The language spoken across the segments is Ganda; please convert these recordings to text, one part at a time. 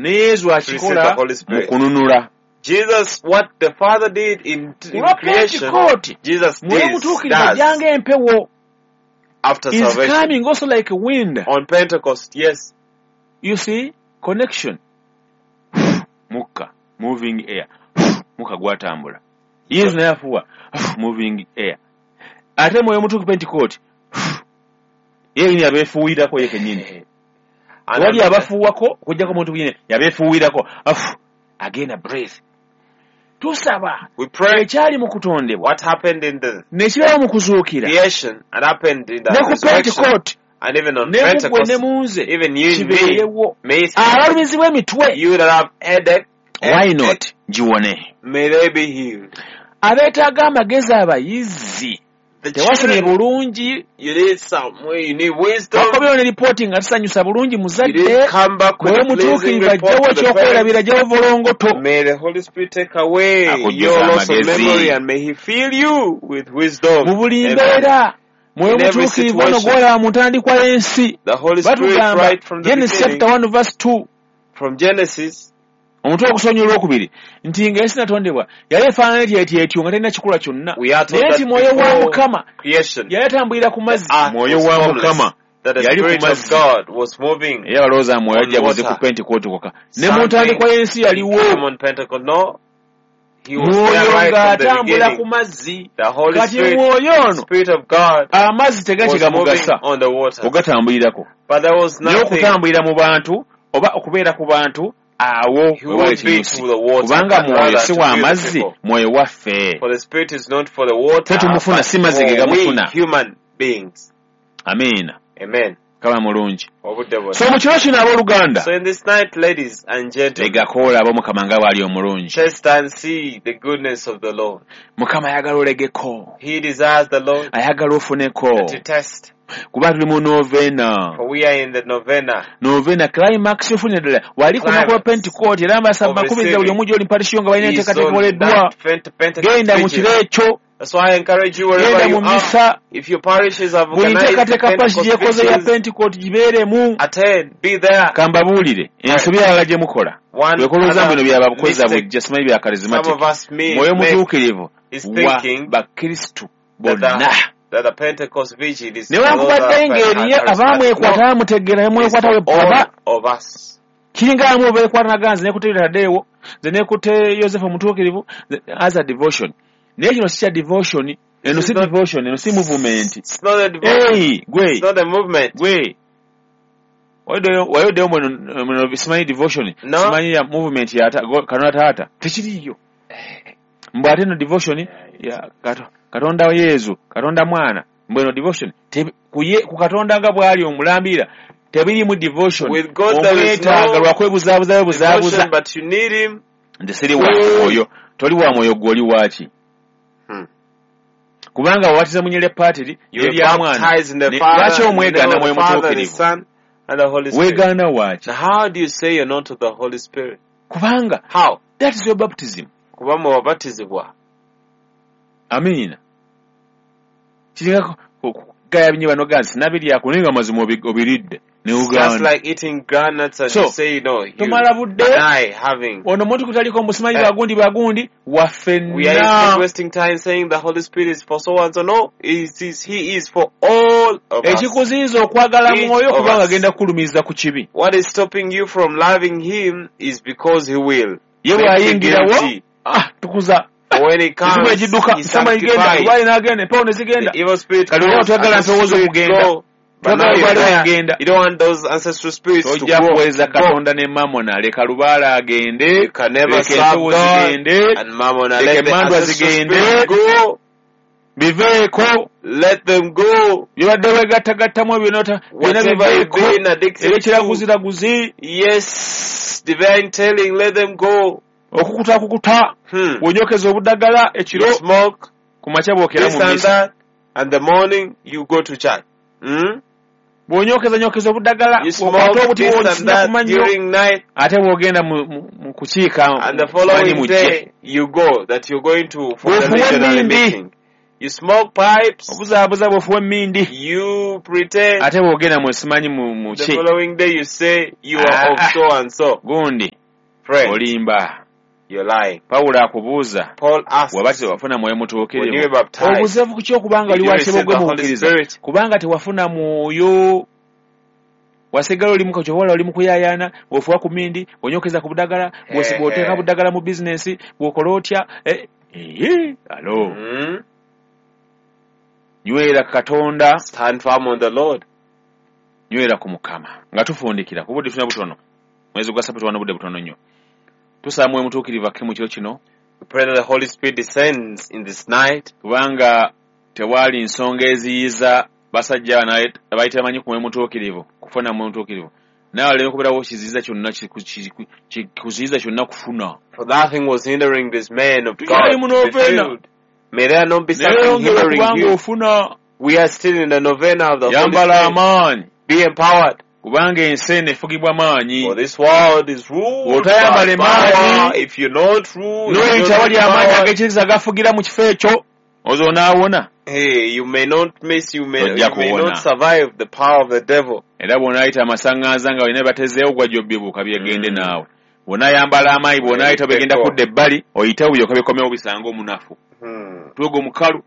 Ne Yesu To receive akikola the Holy mu Spirit. kununula. Jesus, what the Father did in Ku lwa creation, Pentekooti, Jesus Mwoyo did, Mutuukirivu does ajja ng'empewo. after Is salvation. coming also like a wind. On Pentecost, yes. You see, connection. Mukka, moving air. Mukka gwatambula. Yesu naye afuuwa, moving air. Ate Mwoyo Mutuukirivu Pentekooti, ye yennyini abeefuuyirako ye kennyini. And Wali abafuuwako okuggyako omuntu yennyini yabeefuuyirako. Again a breath. Tusaba we pray ekyali mu kutondebwa what happened in the ne kibeera mu kuzuukira creation and happened in the ne ku resurrection Pentekooti and even on ne mu ggwe ne Pentecost, mu nze even you in me, kibeerewo. may it happen. Abalumizibwa emitwe, You that have headache, why not giwone? may they be healed. Abeetaaga amagezi abayizi The tewasomye children, bulungi, you need some, you need wisdom. wakomyewo ne lipooti nga tusanyusa bulungi You muzadde. didn't come back with Mwoyo a pleasing Mutuukirivu report ajjawo to the parents. ekyokwerabira, ajjawo volongoto. May the Holy Spirit take away Akujjuza your loss of amagezi. memory and may He fill you with wisdom. Mu buli Amen. mbeera Mwoyo In every Mutuukirivu ono situation. gw'olaba mu ntandikwa y'ensi. The Holy Spirit, Batugamba right from the Genesis beginning, chapter 1 verse 2, from Genesis, omutwe ogusonyi olwokubiri nti ng'ensi natondebwa yali efaanana etyo etyo etyo nga terina kikula kyonna, we are told naye that nti Mwoyo wa before Mukama creation, yali atambulira ku mazzi. the earth Mwoyo was wa formless, Mukama that the yali ku Spirit of mazzi. God was moving. Era balowooza Mwoyo On ajja buzi ku water. Pentekooti kwokka, ne mu Something ntandikwa y'ensi yaliwo. Come on Pentecost. No, He was there Mwoyo right from the ng'atambula ku beginning. mazzi. The Holy Kati Spirit, Mwoyo ono, Spirit of God, amazzi was moving tegakigamugasa on the waters. ogatambulirako, But there was naye nothing. okutambulira mu bantu oba okubeera ku bantu awo He wewali would be ekinyusi, to the water, kubanga but Mwoyo rather si to wa be the mazzi, people. Mwoyo waffe. For the Spirit is not for the water, Ffe tumufuna, but si mazzi ge for we gamufuna. human beings. Amiina. Amen. Kaba mulungi. Obudde bwonna. So mu kiro kino abooluganda, So in this night, ladies and gentlemen, legako olabe Omukama nga bw'ali omulungi. taste and see the goodness of the Lord. Mukama ayagala olegeko, He desires the Lord ayagala ofuneko, to test. kuba tuli mu novena. For we are in the novena. Novena climax ofunire ddala wali ku lunaku lwa Climax Pentekooti, era mbasaba of bakubiriza buli receiving. omu gy'oli mpatisyo nga balina Is enteekateeka on ekoleddwa. that Pentecost Genda mu vigil. kiro ekyo, That's why I encourage you wherever genda you mu are. misa. If your parishes have Buli organized the nteekateeka pasi Pentecost gyekoze ya vigils, Pentekooti gibeeremu. attend, be there. Kambabuulire ensobi alala gye mukola, One wekolooza other bino byababukoza mistake bujja, simanyi bya some charismatic. of us may Mwoyo make Mutuukirivu is wa thinking bakristu that bonna, the, that the Pentecost vigil is for those newankubadde that are ng'eriyo charismatic. abaamwekwata No, bamutegeera it is nemwekwata for we baba all of us. kiringa abamu beekwata naga nze nekutte Tadeewo, nze nekutte Yosefu Omutuukirivu as a devotion, naye kino si kya devotion eno, This si is not, devotion eno, si movement. it's not a devotion. Ei gwe, It's not a movement. gwe wayoddeyo muno simanyi devotion, No. simanyi ya movement ya Katonda taata tekiriiyo, mbw ate eno devotion ya Katonda Yezu, Katonda mwana, mbw eno devotion ku Katonda nga bw'ali omulambira tebirimu devotion. With God there is Omwetaaga no lwakwebuzaabuza webuzaabuza. devotion, but you need Him. Nze siri wa mwoyo, toli wa mwoyo, gwe oli waaki? Kubanga wabatiza mu patiri You were erya mwana baptized in the lwaki Father, in the omwegaana name of Mwoyo the Father, the Mutuukirivu? Son, and the Holy Spirit. Weegaana waaki? Now, how do you say you're not of the Holy Spirit? Kubanga How? that is your baptism. Kuba mwabatizibwa. Amiina. Kiringa kugaya binyi bano gansi sinabiryako, naye nga mazima obiridde ne It's just ugaana. like eating groundnuts and So, you say no, you tomala budde deny having. ono omuntu kutaliko musimanyi Eh. bagundi bagundi We are waffenna. instead wasting time saying the Holy Spirit is for so and so. No, He is for all of us. Ekikuziyiza okwagala Each Mwoyo of kubanga us. agenda kukulumiriza ku kibi. What is stopping you from loving Him is because He will Ye make you bw'ayingirawo, guilty. ah, tukuza For when He emizimu comes, egidduka, He nsamba igenda, sanctifies. lwali n'agenda, empewo ne zigenda. The evil spirit Kati olaba goes, toyagala ancestral mpewo spirits z'okugenda. go. But now Toyagala you're lubaale there. okugenda. You don't want those ancestral spirits to Tojja go. kuweereza Go. Katonda ne Mamona, leka lubaale agende, You can never leka serve empewo God zigende, and Mammon. leka Let the emandwa ancestral zigende, spirits go. biveeko. Let them go. Byobadde weegattagattamu ebyo byonna Whatever you've biveeko, been addicted to. ebyekiraguziraguzi, Yes, divine telling, let them go. okukutakukuta, bw'onyokeza obuddagala ekiro, You smoke, ku makya bw'okera this mu and misa. that, and the morning you go to church. Bw'onyokeza nyokeza obuddagala, You bw'okwata smoke obuti this and bw'okisinya that ku mannyo, during night, ate bw'ogenda mu kukiika and the manyi following mujje. day you go that you're going to for the Bw'ofuwa missionary emmindi, meeting. You smoke pipes. Obuzaabuza bw'ofuwa emmindi. You pretend. Ate bw'ogenda mu simanyi mu The ki following day you say you are Ah, of ah. so and so. Gundi Friend, olimba. you're lying. Pawulo akubuuza Paul asks, waba tewafuna mwoyo when you mutuukirivu were baptized, obuzeevu ku kyokubanga oli did you receive wakibogwe the mu Holy bukkiriza Spirit? kubanga tewafuna mwoyo wasigala oli mukakyobala oli mukuyaayaana bw'ofuwa ku mindi bw'onyokeza ku budagala bw'oteeka budagala mu bizinensi bw'okola otya alo nywera Katonda. Stand firm on the Lord. Nywera ku Mukama nga tufundikira ku budde tulina butono mwezi gwa sapatu wano budde butono nnyo tusaba mwoyo mutuukirivu akke mu kiro kino. We pray that the Holy Spirit descends in this night kubanga tewaali nsonga eziyiza basajja bano abayita bamanyi ku mwoyo mutuukirivu kufuna mwoyo mutuukirivu naye waleme kubeerawo kiziyiza kyonna kuziyiza kyonna kufuna. For nothing was hindering this man of God Tukyali mu to be novena. filled. May there not be naye something yongera hindering okubanga you. ofuna. We are still in the novena of the Holy Yambala Spirit. amaanyi Be empowered. kubanga ensi eno efugibwa maanyi. For this world is ruled by Bw'otayambala power. emaanyi If you're not ruled, if n'oyita you're wali not amaanyi empowered, ag'ekitiisa gafugira mu kifo ekyo ozo onaawona. hey, you may not miss, you may, Tojja you may kuwona. not survive the power of the devil. Era bw'onaayita amasaŋŋanza nga olina batezeewo gwajja obbibuuka byegende naawe bw'onaayambala amaanyi bw'onaayita bigenda kudda ebbali oyitewo byokka bikomewo bisange omunafu mutwe gwo mukalu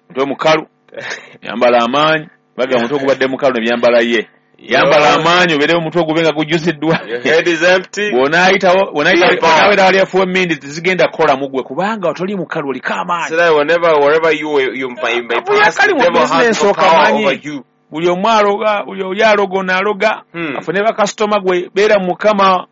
mutwe mukalu yambala amaanyi baga mutwe gubadde mukalu ne byambala ye yambala amaanyi obeerewo omutwe gube nga gujjuziddwa. Your head is empty. Bw'onaayitawo Be empowered. bw'onaawera wali afuwa emmindi tezigenda kukola mu ggwe kubanga toli mukalu oliko So amaanyi. that whenever, wherever you may Kavuyo pass, kali the mu devil has business no power okamanyi. over you. Buli omu aloga buli oli aloga ono aloga afune bakasitoma gwe beera mu Mukama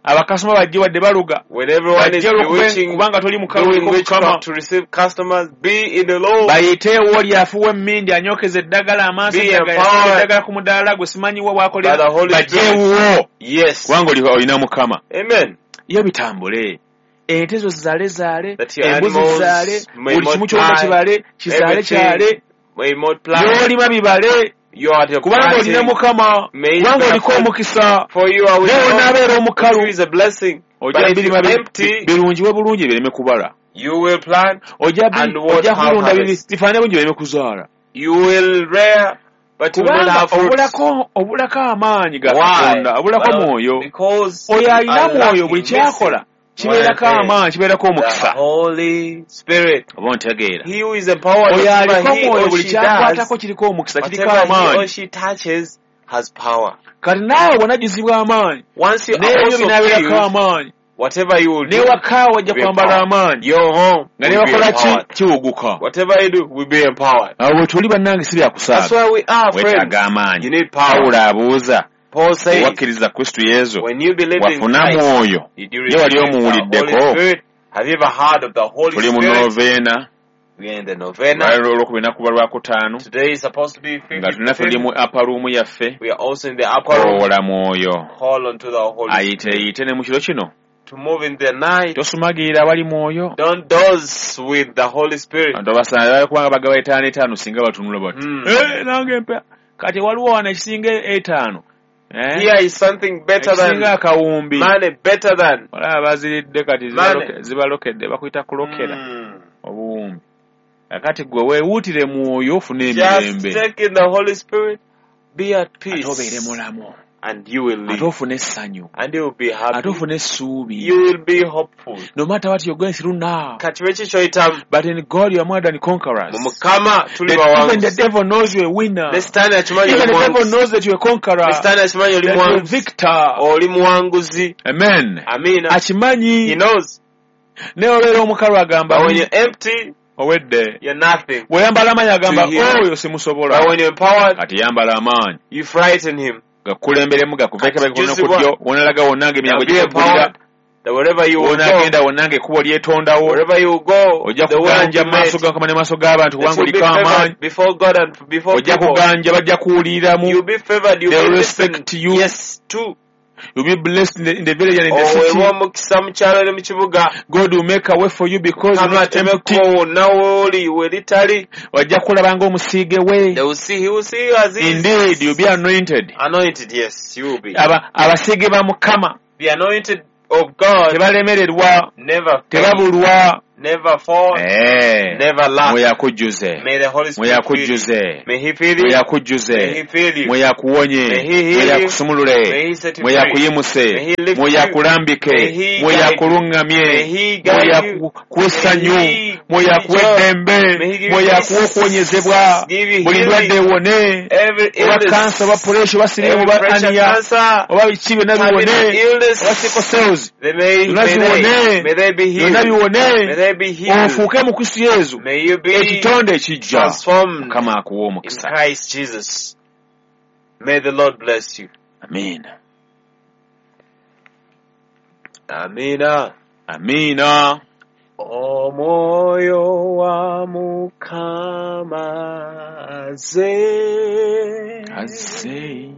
abakasitoma bajje wadde baloga When everyone is bajje olwokube bewitching, kubanga toli mukalu doing oliko Mukama. witchcraft to receive customers, be in the Lord. Bayiteewo oli afuwa emmindi anyokeza eddagala amaaso Be eddagala empowered eddagala ku mudaala gwe simanyiwa bw'akolera by the Holy bajje Spirit. ewuwo Yes. kubanga olina Mukama. Amen. Yo bitambule ente zo zizaale zaale That your embuzi animals zizaale may buli kimu kyonna multiply, kibale kizaale everything kyale may multiply. by'olima bibale You are the kubanga olina planting. Mukama May kubanga bear oliko fruit. omukisa For you are with naye God. onaabeera omukalu It is a blessing. ojja But if birima you're empty, birungiwe bulungi bireme kubala you will plant ojja and won't ojja have kulunda harvest. bifaanane bulungi bireme kuzaala. You will rear, but you will not Kubanga have fruits. obulako obulako amaanyi ga Why? Katonda obulako Well, mwoyo because oyo you alina are mwoyo buli lacking, kyakola missing kibeerako one thing, amaanyi kibeerako the omukisa Holy Spirit. Oba ontegeera He who is empowered, oyo whatever aliko he mwoyo or buli she does, kyakwatako kiriko omukisa kiriko whatever he or amaanyi. she touches has power. Kati naawe bw'onajjuzibwa amaanyi Once you are n'ebyo also binaabeerako filled, amaanyi whatever you will do, n'ewaka wajja will be kwambala empowered. amaanyi Your home nga will be ne bakola ki empowered. kiwuguka. Whatever you do will be empowered. Awo bwe tuli bannange si That's byakusaaga why we are friends. weetaaga You amaanyi. need power. Pawulo abuuza Paul says, owakkiriza Kristo Yesu when you believe in wafuna Christ, mwoyo did you ye wali receive the Holy omuwuliddeko. Spirit? Have you ever heard of the Holy Tuli mu Spirit? noveena We are in the novena. olwaliro olwokubiri nakuba lwakutaano Today is supposed to be nga tulina tuli 55th. mu apaluumu yaffe We are also in the upper room. koola mwoyo Call unto the Holy ayite Spirit yite ne mu kiro kino to move in the night. tosumagiira awali mwoyo. Don't doze with the Holy Spirit. Abantu abasaana bali kubanga bagaba etaano etaano singa batunula bati "Eh, nange mpa kati waliwo wano ekisinga etaano eh? Here is something better Ekisinga than akawumbi money, better than olaba baziridde kati money. Zibalokedde bakuyita kulokera obuwumbi kakati gwe weewuutire mwoyo ofune Just emirembe take in the Holy Spirit, be at ate obeere peace, mulamu and you will ate live, ofune essanyu and you will be ate happy. ofune essuubi. You will be hopeful. No matter what you're going through now, Kati bwe kyoyitamu but in God you are more than conquerors. mu Mukama tuli That even the bawanguzi. devil knows you're a winner. Ne Sitaani akimanyi Even oli the devil muwanguzi. knows that you're a conqueror, Ne Sitaani akimanyi oli that you're a muwanguzi. victor. Oli muwanguzi. Amen. Amiina. He Akimanyi knows. naye obeera omukalu agamba But when you're empty, owedde you're nothing. bw'oyambala amaanyi agamba To him. oyo simusobola. But when you're empowered, Kati yambala amaanyi you frighten him. gakukulemberemu gakuveeko Kati ku jjuzibwa. ddyo wonalaga wonna nga Now emiryango be gikuggulira empowered that wherever you will go, wonaagenda wonna nga ekkubo lyetondawo wherever you go, ojja the way will kuganja be mu maaso made. ga Mukama ne maaso g'abantu That kubanga you'll be oliko amaanyi favored before God and before ojja people. kuganja bajja kuwuliriramu. You'll be favored. You'll They be will listened. respect you. Yes, too. You'll be blessed in the village and in the city. Oweebwa omukisa mu kyalo ne mu kibuga. God will make a way for you because you're Mukama not empty. atemeko wonna w'oli we litali. Ojja kulaba ng'omusiige we. They will see, he will see you as he is. Indeed, you'll be anointed. Anointed, yes, you will be. Abasiige ba Mukama The anointed of God tebalemererwa never fail. tebabulwa. Never fall, Eh. never lack. Mwoyo akujjuze. May the Holy Mwoyo Spirit fill you. akujjuze. May He fill Mwoyo you. akujjuze. May He fill you. Mwoyo akuwonye. May He heal Mwoyo you. akusumulule. May He set you Mwoyo free. akuyimuse. May He lift Mwoyo you. akulambike. May He Mwoyo guide you. akuluŋŋamye. May He Mwoyo guide you. akuwe essanyu. May He Mwoyo give you akuwe joy. eddembe. May He give you Mwoyo peace. akuwe okuwonyezebwa. Give you Buli healing. ndwadde ewone. Every Oba kansa, oba illness, puresha, oba siriimu, every oba pressure, aniya, cancer, oba biki byonna terminal biwone. illness, Oba sickle cells. they may, Byonna may they, biwone. may they be Byonna healed. May biwone. they be healed. Ofuuke mu Kristo Yesu. May you be Ekitonde ekijja. transformed Mukama akuwe in omukisa. Christ Jesus. May the Lord bless you. Amiina. Amina. Amiina. Omwoyo wa Mukama aze. Azze.